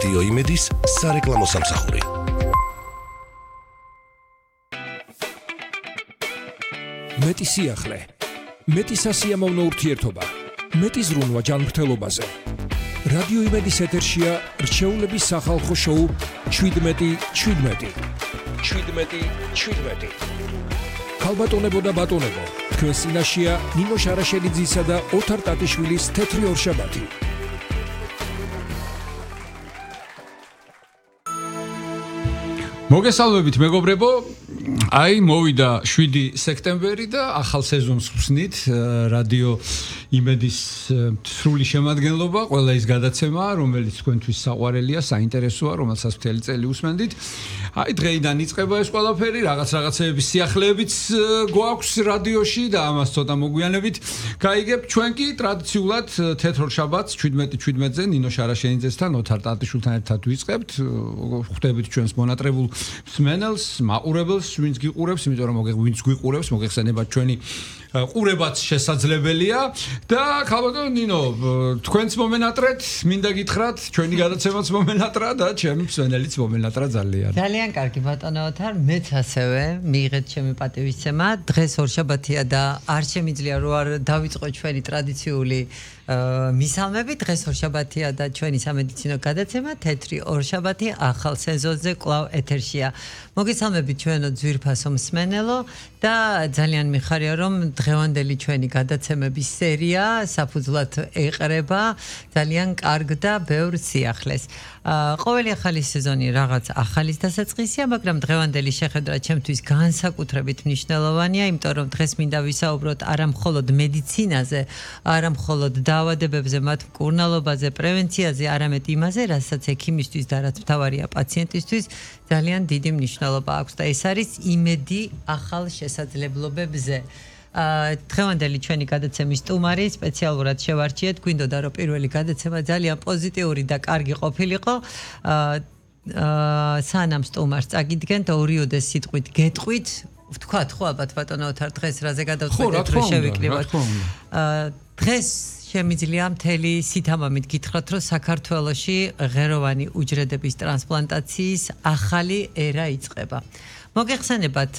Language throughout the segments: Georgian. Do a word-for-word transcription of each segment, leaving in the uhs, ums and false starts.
რადიო იმედის სარეკლამო სამსახური. მეტი სიახლე, მეტი სასიამოვნო ურთიერთობა, მეტი ზრუნვა ჯანმრთელობაზე. რადიო იმედის ეთერშია რჩეულების სახალხო შოუ შვიდმეტი შვიდმეტი. შვიდმეტი შვიდმეტი. ქალბატონებო და ბატონებო, თქვენს წინაშეა ნინო შარაშელიძისა და ოთარ ტატიშვილის თეთრი ორშაბათი. მოგესალმებით მეგობრებო, აი მოვიდა შვიდი სექტემბერი და ახალ სეზონს ვსნით რადიო იმედის სრული შემადგენლობა, ყველა ის გადაცემა, რომელიც თქვენთვის საყვარელია, საინტერესოა, რომელსაც მთელი წელი უსმენდით. აი დღეიდან იწყება ეს ყველაფერი, რაღაც რაღაცეების სიახლეებიც გვაქვს რადიოში და ამას ცოტა მოგვიანებით გაიგებ. ჩვენ კი ტრადიციულად თეთრ შაბათს შვიდმეტი შვიდმეტზე ნინო შარაშენიძესთან, ოთარ ტატიშვილთან ერთად ვიწყებთ. ხვდებით ჩვენს მონატრებულ მსმენელს, მაყურებელს, ვინც გიყურებს, იმიტომ რომ ვინც გვიყურებს, მოგეხსენებათ ჩვენი ყურებაც შესაძლებელია და ქალბატონო ნინო, თქვენც მომენატრეთ, მინდა გითხრათ, ჩვენი გადაცემაც მომენატრა და ჩემი მსმენელიც მომენატრა ძალიან. ძალიან კარგი ბატონო ოთარ, მეც ასევე მიიღეთ ჩემი პატივისცემა. დღეს ორშაბათია და არ შემიძლია რომ არ დავიწყო ჩვენი ტრადიციული მისალმები. დღეს ორშაბათია და ჩვენი სამედიცინო გადაცემა თეთრი ორშაბათი ახალ სეზონზე კვლავ ეთერშია. მოგესალმებით ჩვენო ძვირფასო მსმენელო და ძალიან მიხარია რომ დღევანდელი ჩვენი გადაცემების სერია საფუძვლად ეყრება ძალიან კარგ და ბევრ სიახლეს. ყოველი ახალი სეზონი რაღაც ახალის დასაწყისია, მაგრამ დღევანდელი შეხედვა ჩემთვის განსაკუთრებით მნიშვნელოვანია, იმიტომ რომ დღეს მინდა ვისაუბროთ არა მხოლოდ მედიცინაზე, არა მხოლოდ დაავადებებზე, მათ მკურნალობაზე, პრევენციაზე, არამედ იმაზე, რასაც ექიმისთვის და რაც მთავარია პაციენტისთვის ძალიან დიდი მნიშვნელობა აქვს და ეს არის იმედი ახალ შესაძლებლობებზე. დღევანდელი ჩვენი გადაცემის სტუმარი სპეციალურად შევარჩიეთ, გვინდოდა რომ პირველი გადაცემა ძალიან პოზიტიური და კარგი ყოფილიყო. სანამ სტუმარს წაგიდგენთ, ორიოდე სიტყვით გეტყვით, ვთქვათ ხო ალბათ ბატონო ოთარ, დღეს რაზე გადავწყვეტეთ რომ შევიკრიბოთ. დღეს შემიძლია მთელი სითამამით გითხრათ, რომ საქართველოში ღეროვანი უჯრედების ტრანსპლანტაციის ახალი ერა იწყება. მოგეხსენებათ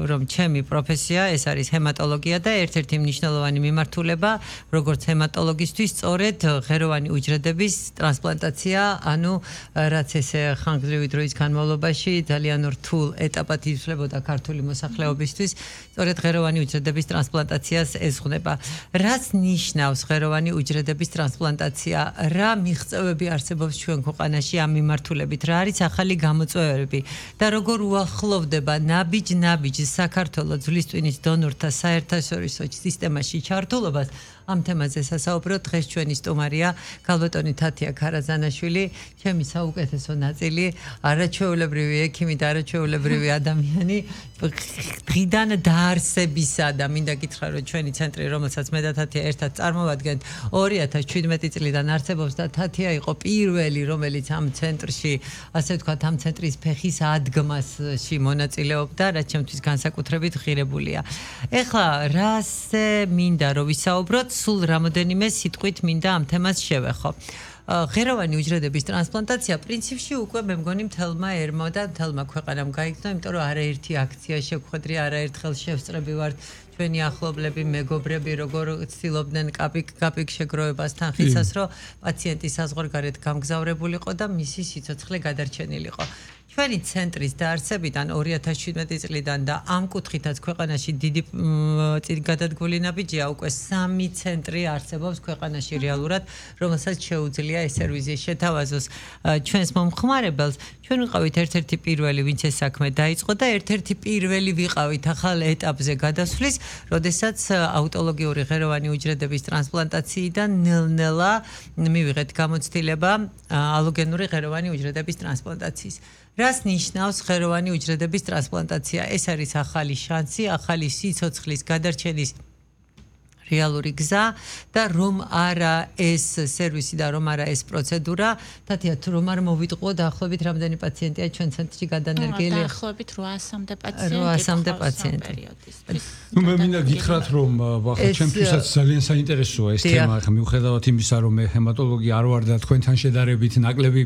რომ ჩემი პროფესია ეს არის ჰემატოლოგია და ერთ-ერთი მნიშვნელოვანი მიმართულება როგორც ჰემატოლოგისთვის სწორედ ღეროვანი უჯრედების ტრანსპლანტაცია, ანუ რაც ეს ხანგრძლივი დროის განმავლობაში ძალიან რთულ ეტაპად იცვლებოდა ქართული მოსახლეობისთვის, სწორედ ღეროვანი უჯრედების ტრანსპლანტაციას ეზღუნება. რაც ნიშნავს ღეროვანი უჯრედების ტრანსპლანტაცია, რა მიღწევები არსებობს ჩვენ ქვეყანაში ამ მიმართულებით, რა არის ახალი გამოწვევები და როგორ უახლოვდება ნაბიჯ-ნაბიჯ საქართველოს ძვლისტვინის დონორთა საერთაშორისო სისტემაში ჩართულობას. ამ თემაზე სასაუბრო დღეს ჩვენი სტუმარია ქალბატონი თათია ქარაზანაშვილი, ჩემი საუკეთესო ნაწილი, არაჩვეულებრივი ექიმი და არაჩვეულებრივი ადამიანი, დღიდან დაარსებისა და მინდა გითხრა რომ ჩვენი ცენტრი, რომელსაც მე და თათია ერთად წარმოვადგენთ, ორი ათას შვიდმეტი წლიდან არსებობს და თათია იყო პირველი, რომელიც ამ ცენტრში, ასე ვთქვათ, ამ ცენტრის ფეხის ადგმასში მონაწილეობდა, რაც ჩემთვის განსაკუთრებით ღირებულია. ეხლა რაზე მინდა რომ ვისაუბროთ, სულ რამოდენიმე სიტყვით მინდა ამ თემას შევეხო. ღეროვანი უჯრედების ტრანსპლანტაცია პრინციპში უკვე მე მგონი მთელმა ერმა და მთელმა ქვეყანამ გაიგრძნო, იმიტომ რომ არაერთი აქცია შევხვედრი, არაერთხელ შევსწრები ვართ ჩვენი ახლობლები, მეგობრები, როგორ ცდილობდნენ კაპიკ-კაპიკ შეგროვებას თანხისას, რომ პაციენტი საზღვარგარეთ გამგზავრებულიყო და მისი სიცოცხლე გადარჩენილიყო. ჩვენი ცენტრის დაარსებიდან ორი ათას შვიდმეტი წლიდან და ამ კუთხითაც ქვეყანაში დიდი გადადგმული ნაბიჯია, უკვე სამი ცენტრი არსებობს ქვეყანაში რეალურად, რომელსაც შეუძლია ეს სერვისი შეთავაზოს ჩვენს მომხმარებელს. ჩვენ ვიყავით ერთ-ერთი პირველი, ვინც ეს საქმე დაიწყო და ერთ-ერთი პირველი ვიყავით ახალ ეტაპზე გადასვლის, როდესაც აუტოლოგიური ღეროვანი უჯრედების ტრანსპლანტაციიდან ნელ-ნელა მივიღეთ გამოცდილება ალოგენური ღეროვანი უჯრედების ტრანსპლანტაციის. რას ნიშნავს ღეროვანი უჯრედების ტრანსპლანტაცია? ეს არის ახალი შანსი, ახალი სიცოცხლის გადარჩენის რეალური გზა და რომ არა ეს სერვისი და რომ არა ეს პროცედურა, თათია თუ რომ არ მოვიტყუო დაახლოებით რამდენი პაციენტია ჩვენ ცენტრში გადანერგილი? დაახლოებით რვაასამდე პაციენტი. რვაასამდე პაციენტი. ნუ მე მინდა გითხრათ რომ ახლა ჩემთვისაც ძალიან საინტერესოა ეს თემა, ახლა მიუხედავად იმისა რომ მე ჰემატოლოგი არ ვარ და თქვენთან შედარებით ნაკლები